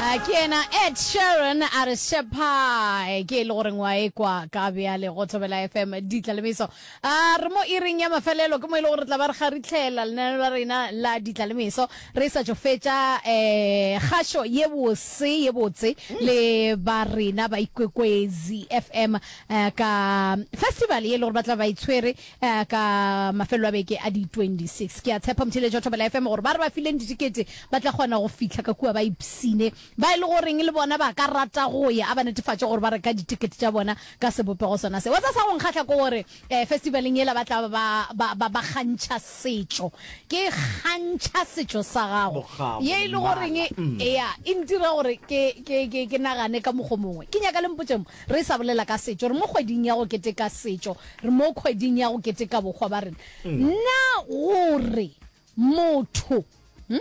Ah, ke yena Ed Sheeran a re Shepai ke e le goreng wa ekwa ka bjale go Thobela FM ditlalemeso a re mo iring ya mafelelo ke mo e le gore re tla ba re kgaritlhela lenaneo la rena la ditlalemeso re sa tšo fetša um kgašo ye bose ye botse le ba rena ba Ikwekwezi FM eh, ka festival ye e le gore ba tla ba itshwere eh, ka mafelelo a beke a di 26. Ke a tshepa motheeletši wa Thobela FM gore ba re ba fileng ditikete ba tla kgona go fihla ka kua ba ipsine. Ba e le goreng le bona ba ka rata go ya, a ba netefatše gore ba reka ditikete tša bona ka sebopego sona se. Wa tseba sa go nkgahla ke gore eh, festivaleng yela ba tla ba ba ba ba kgantšha setšo. Ke kgantšha setšo sa gago. Bokgabo, Ye e le goreng mmala. ea e ntira gore ke ke ke ke nagane ka mokgo mongwe. Ke nyaka le mpotše mo. Re sa bolela ka setšo, re mo kgweding ya go keteka setšo, re mo kgweding ya go keteka bohwa ba rena. Na gore motho, hm,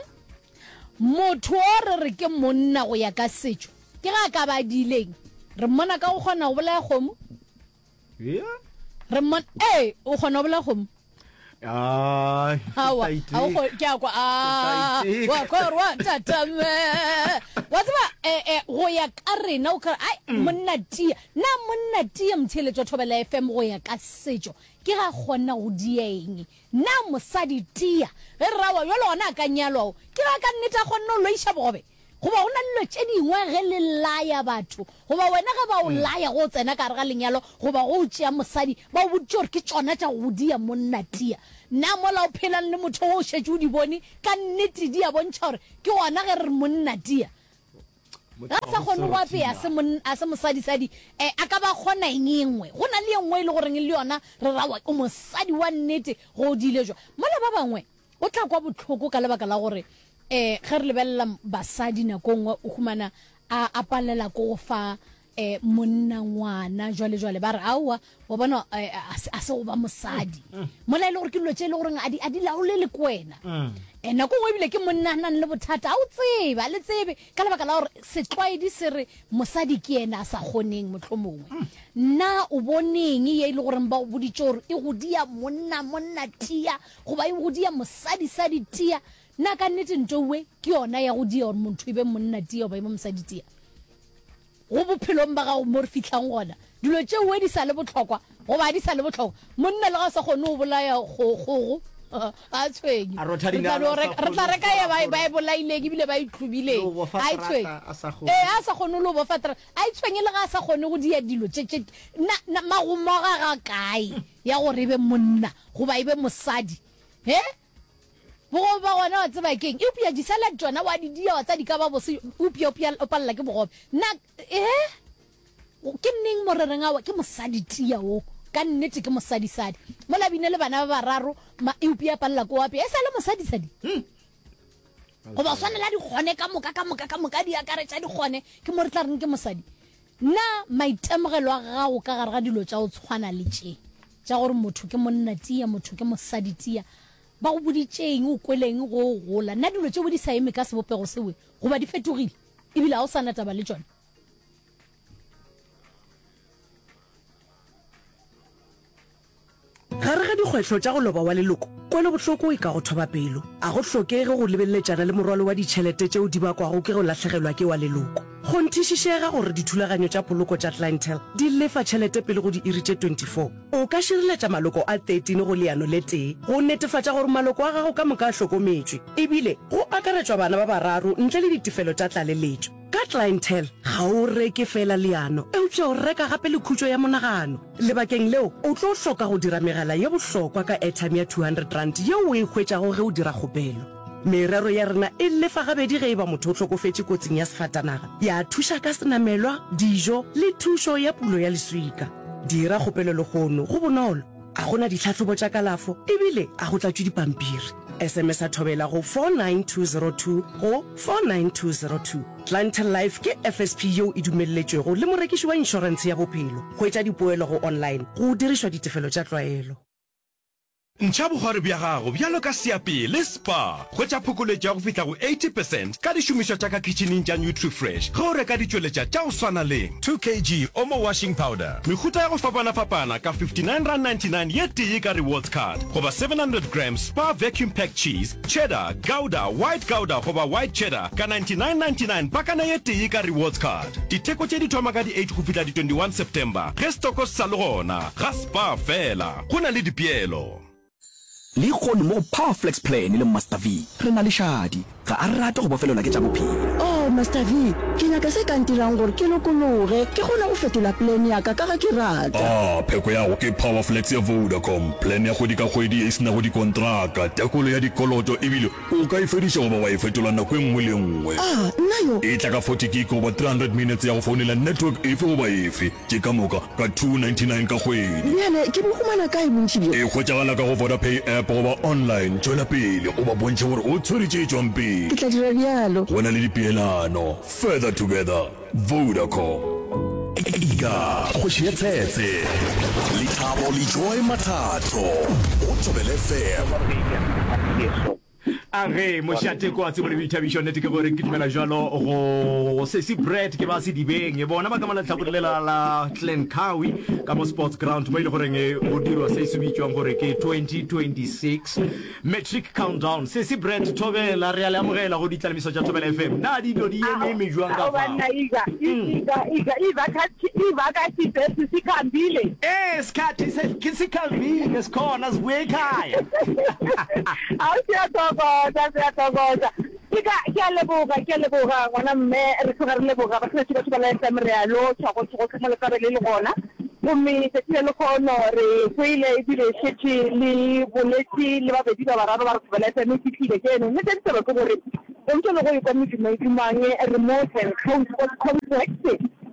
motho o re re ke monna go ya ka setšo, ke ga a ka ba a diileng? Re mmona ka go kgona go bolaya kgomo? Yeah. Re mmona, ee, o kgona go bolaya kgomo? Ai, Aowa, ke a o kgo- ke a kwa, ah, Ke tla iteka. wa kwa gore wa tatame. Wa tseba, eh, eh, go ya ka rena o kare, ai, monna tia. Na monna tia motheeletši wa Thobela FM go ya ka setšo, ke ga kgona go dia eng? Na mosadi tia, ge re ra wa bjalo gona a ka nyalwa o, ke ga ka nnete a kgonne go loiša bogobe? Goba go na le dilo tše dingwe ge le laya batho, goba wena ge ba o laya ge o tsena ka gare ga lenyalo goba ge o tšea mosadi, ba o boditše gore ke tšona tša go go dia monna tia. Na mola o phelang le motho wo o šetše o di bone, ka nnete di a bontšha gore ke gona ge re re monna tia. Ge a sa kgone go apea, a se monna, a se mosadisadi, eh, a ka ba a kgona eng e nngwe? Go na le e nngwe e le goreng le yona re ra o mosadi wa nnete ge o diile jwa. Mola ba bangwe O tla kwa bohloko ka lebaka la gore um ge re lebelela basadi nako nngwe o humana a a palela ko go fa um monna ngwana jwale jwale ba re aowa wa bona eh, a se- a se go ba mosadi mola e le gore ke dilo tše e le goreng a di a di laolele ke wena um nako nngwe ebile ke monna a nang le bothata a o tsebe a le tsebe ka lebaka la gore setlwaedi se re mosadi ke yena a sa kgoneng mohlomongwe. Na o boneng ye e le goreng ba go boditše gore e go dia monna monna tia goba e go dia mosadi sadi tia? Na ka nnete ntoue ke yona ya go dia gore motho e be monna tia goba e be mosadi tia? Go bophelong ba gago mo re fihlang gona, dilo tšeoe di sa le bohlokwa goba ga di sa le bohlokwa? Monna le ga o sa kgone go bolaya kgogo, ga a tshwenye. A rotha Re tla dinala, no a sa reka, re tla kgone reka go ye ba e, fora ba e bolaileng ebile ba e Le hlobileng. go bofa Ga e tshwenye. terata, a sa kgone. Ee, a sa kgone le go bofa terata. A e tshwenye le ga a sa kgone go dia dilo tše, tše, na, na, magomo a gagwe a kae ya gore e be monna goba e be mosadi? He? Bogobe ba gona wa tseba ke'ng? Eupša di-salad tšona wa di dia wa tseba di ka ba bose, eupša o palela ke bogobe. Na, ee, ke neng mo re reng aowa ke mosadi tia wo, ka nnete ke mosadisadi. Mola bine le bana ba bararo, ma, eupša a palela ke o apea, e sa le mosadisadi. Goba o swanela dikgone ka moka, ka moka, ka moka, di akaretša dikgone, ke mo re tla reng ke mosadi. Na maitemogelo a gago ka gare ga dilo tša go tshwana le tše, tša gore motho ke monna tia, motho ke mosadi tia, ba go boditše eng, o kwele eng ge o gola? Na dilo tšeo di sa eme ka sebopego seo goba di fetogile e bile ga o sa na taba le tšona? Gare ga dikgwetlho tša go loba wa leloko, kwelobohloko e ka go thoba pelo. A go hlokege go lebeleletšana le morwalo wa ditšhelete tšeo di bakwago ke go lahlegelwa ke wa leloko. Kgonthišišega gore dithulaganyo tša poloko tša Clientele di lefa tšhelete pele go diiri tše 24. O ka šireletša maloko a 13 go leano le tee go netefatša gore maloko a gago ka moka a hlokometšwe, ebile go akaretšwa bana ba bararo ntle le ditefelo tša tlaleletšo. Ka Clientele, ga o reke feela leano, eupša o reka gape le khutšo ya monagano. Lebakeng leo, o tlo hloka go dira megala ye bohlokwa ka airtime ya R200 yeo o e hwetšago ge o dira kgopelo. Merero ya rena e lefa gabedi ge e ba motho o hlokofetše kotsing ya sefatanaga, ya thuša ka senamelwa, dijo le thušo ya pulo ya leswika. Dira kgopelo lehono, go bonolo. A go na ditlhahlobo tša kalafo ebile a go tlatšwe dipampiri. SMS-a Thobela go 49202 go 49202. Clientele Life ke FSP yeo e dumelletšwego le morekiši wa inšorentshe ya bophelo. Hwetša dipoelo go online go dirišwa ditefelo tša tlwaelo. Ntšha bogwari bja gago bjalo ka seapee le Spar. Hwetša phokoletšo ya go fihla go 80 percent ka dišomišwa tša ka khitšhining tša Nutrifresh ge o reka ditšweletša tša go swana le 2 kg Omo washing powder, mehuta ya go fapanafapana ka R59.99 ye tee ka rewards card goba 700 grams Spar vacuum packed cheese, cheddar, gouda, white gouda goba white cheddar ka R99.99 pakana ye tee ka rewards card. Ditheko tše di thoma ka di 8 go fihla di 21 September ge stoko se sa le gona ga Spar fela. Go na le dipeelo. Lehono mo go Power Flex Plan le Master V, re na le Shadi. Ga a rate go bofelelwa ke tša bophelo. Oh, Master V, ke nyaka se ka ntirang gore ke lokologe, ke kgone go fetola plan ya ka ka ge ke rata. Ah, pheko ya go ke Power Flex ya Vodacom, plan ya kgwedi ka kgwedi ye e se nago dikontraka, tekolo ya dikoloto ebile o ka e fediša goba wa e fetola nako e nngwe le e nngwe. Ah, nna yo! E tla ka 40 gig goba 300 minutes ya go founela network efe goba efe. Tše ka moka ka R299 ka kgwedi. Bjale ke bo humana kae bontši bjo? E hwetšagala ka go Vodapay app goba online. Tšwela pele o ba bontšhe gore o tshwere tše tšwang pele. Ke tla dira bjalo. Go na le dipeelano. Further together. Vodacom. Ika, kgoši ya tshetse. Lethabo le Joy Mathatho go Thobela FM. A ge mošate kwa tsebo le boithabišo nnete ke gore ke dumela jalo go sesi bread ke ba sedibeng e bona ba ka mo lehlakore lela la Glencowie ka mo sports ground mo e le goreng go dirwa se se bitšwang gore ke 2026 matric countdown sesi bread thobela re a le amogela go ditlalemiso tša thobela fm na dilo di eme jwang ka fao ivakatshi zethu sikhambile ee sikhathi sikhambile sikhona sibuye ekhaya Ao, siyathokoza, siyathokoza. Ke ka, ke a leboga, ke a leboga ngwana mme, re tloga re leboga batheletši ba Thobela FM, re a lotšha gohle gohle mo le tlabe le le gona. Gomme tšatši la lekgono re kwele ebile šetše le boletše le babedi ba bararo ba re Thobela FM e fihlile keno. Nnete ya ditaba ke gore go ntše le go ekwa medumo e dumang, re mo Glencoe Sports Complex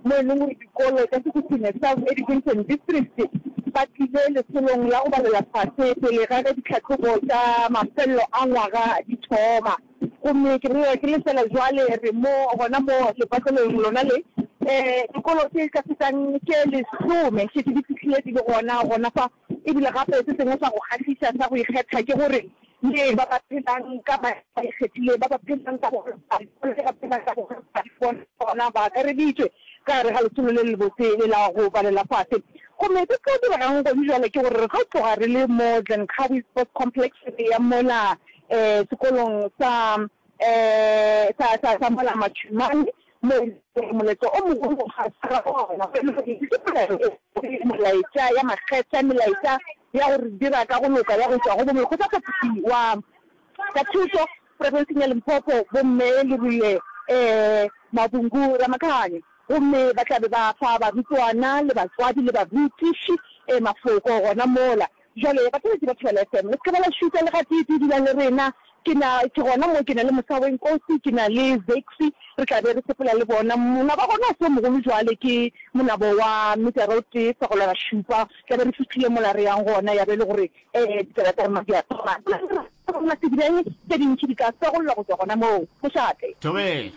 mo e leng gore Dikolo tša Sekhukhune South Education District ba tlile lesolong la go balela fase pele ga ge ditlhahlobo tša mafelelo a ngwaga di thoma. Gomme ke bolela ke le fela jwale re mo gona mo lepatlelong lona le. Dikolo tše ka fetang tše lesome šetše di fihlile di le gona gona fa. E bile gape se sengwe sa go kgahliša sa go ikgetha ke gore le ba ba phelang ka maemo a ikgethileng, ba ba phelang ka bogolofadi, le ba phelang ka bogolofadi le bona ba akareditšwe ka gare ga lesolo le lebotse le la go balela fase. Gomme se se tlo diregang gone bjale ke gore re tlo tloga re le mo Glencoe Sports Complex re ya mola sekolong sa sa, sa, sa mola Matšhumane, mo e lego gore moletlo o mogolo ga sa gona, go e le gore ke polelo e molaetša ya makgetha, melaetša ya go re dira ka go loka ya go tšwa go bo molekgotlaphethiši wa tša thuto profenseng ya Limpopo, bomme Leruile um Mabungu Ramakhane. Gomme ba tla be ba fa barutwana le batswadi le barutiši mafoko gona mola. Bjale, batheeletši ba Thobela FM, le se ke ba la šutha le gateetee, dulang le rena. Ke na, ke gona mo, ke na le Mosawenkosi, ke na le Zexy, re tla be re sepela le bona. Monaba gona o se o mogolo bjale, ke monabo wa metara o tee fegelwana šupa. Tla be re fihlile mola re yang gona, ya be e le gore ditaba tša rena di a thoma. Rona sedibeng, tše dintši di tla fegollwa go tšwa gona moo. Mošate. Thobela.